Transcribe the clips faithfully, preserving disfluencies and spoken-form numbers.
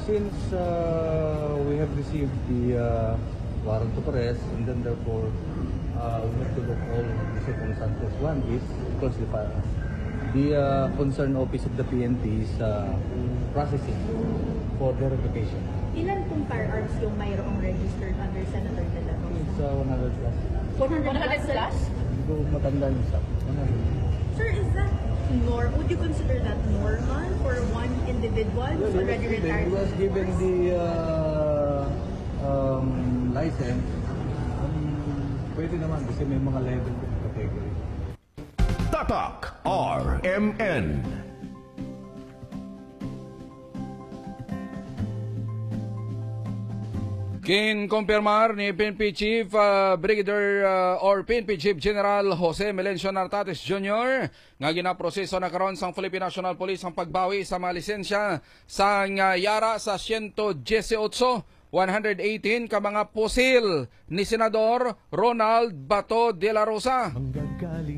Since uh, we have received the uh, warrant of arrest, and then therefore uh, we have to look all the circumstances. One is, of course, the, pa- the uh, concerned office of the P N P is uh, processing for verification. Ilan pong firearms yung mayroong registered under Senator De La Rosa? It's uh, one hundred plus. One hundred plus? Hindi ko matanda yung exact. One hundred. Sir, is that nor would you consider that normal for one individual who's Well, he was already given, retired? he was given the uh, um, license. Um, pwede naman kasi may mga level din category. Tatak R M N. Ginkumpirmar ni P N P Chief uh, Brigadier uh, or P N P Chief General Jose Melencio Nartates Junior nga ginaproseso na karon sang Philippine National Police ang pagbawi sa mga lisensya sang uh, yara sa siyento diyesiyotso, one hundred eighteen ka mga pusil ni Senador Ronald Bato de la Rosa.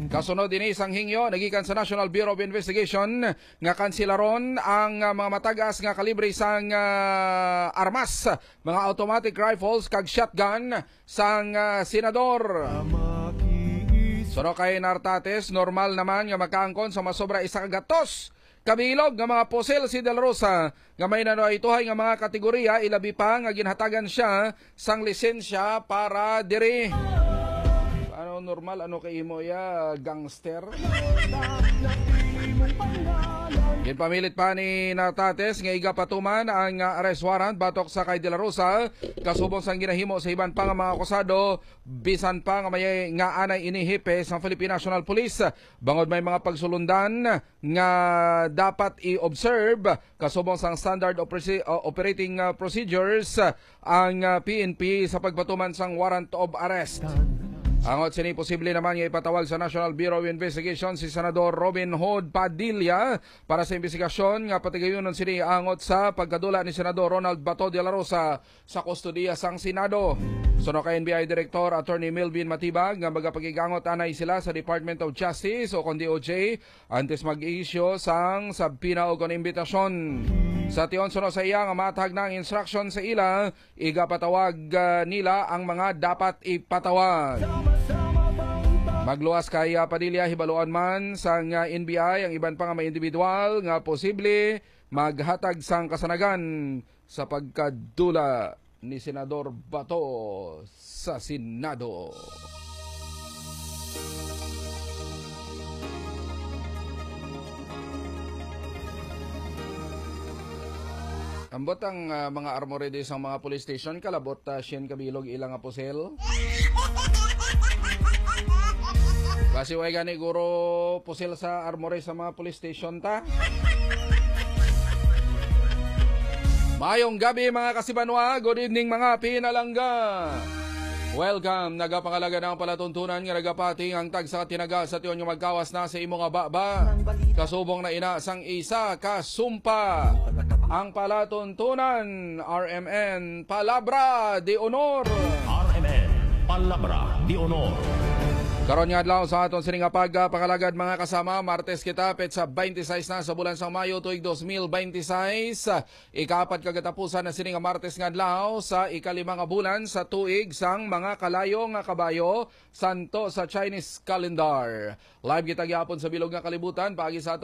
Kasunod ini sang hingyo nagikan sa National Bureau of Investigation nga kansilaron ang uh, mga matagas nga kalibre sang uh, armas, mga automatic rifles kag shotgun sang uh, senador. Suno kay Nartates, normal naman nga makaangkon sa masobra isa ka gatos kabilog nga mga pusil si De La Rosa nga may nanuhaytohay nga mga kategorya, ilabi pa nga ginhatagan siya sang lisensya para diri. Ano normal, ano kay imo ya, gangster? Ginpamilit pa ni Nartates nga igapatuman ang uh, arrest warrant batok sa kay De La Rosa kasubong sang ginahimo sa iban pa nga mga akusado, bisan pa nga may nga anay ini hepe sang Philippine National Police, bangod may mga pagsulundan nga dapat i-observe kasubong sang standard operasi- uh, operating uh, procedures uh, ang uh, P N P sa pagpatuman sang warrant of arrest. Angot sini, posible naman nga ipatawag sa National Bureau of Investigation si Senador Robin Hood Padilla para sa investigasyon nga patigayunon sini angot sa pagkadula ni Senador Ronald Bato de la Rosa sa kustodiya sang Senado. Suno kay N B I Director Attorney Melvin Matibag nga magapakigangot anay sila sa Department of Justice o kon D O J antes mag-issue sang subpoena o kon imbitasyon. Sa tion, suno sa iya nga matag na ang instruction sa ila, igapatawag uh, nila ang mga dapat ipatawag. Magluwas kay uh, Padilla, hibaluan man sang uh, N B I ang iban pa nga mga individual nga posible maghatag sang kasanagan sa pagkadula ni Senador Bato sa Senado. Ambot ang uh, mga armory di sa mga police station, kalabot uh, siyam kabilog ilang nga pusil. Basi way gani guro pusil sa armory sa mga police station ta. Mayong gabi mga kasibanwa, good evening mga pinalangga. Welcome. Nagapangalagad ang palatuntunan nga nagapati ang tagsa ka tinaga sa tion nga magkawas na sa imo nga baba. Kasubong na ina sang isa ka sumpa. Ang palatuntunan, R M N, Palabra de Honor. R M N, Palabra de Honor. Karon nga adlaw sa aton sini nga pagpangalagad, mga kasama, Martes kita, petsa twenty-six na sa bulan sang Mayo, tuig dos mil twenty-six. Ikaapat ka katapusan na sini nga Martes nga adlaw sa ikalima nga bulan sa tuig sang mga kalayo nga kabayo, santo sa Chinese calendar. Live kita gihapon sa bilog nga kalibutan paagi sa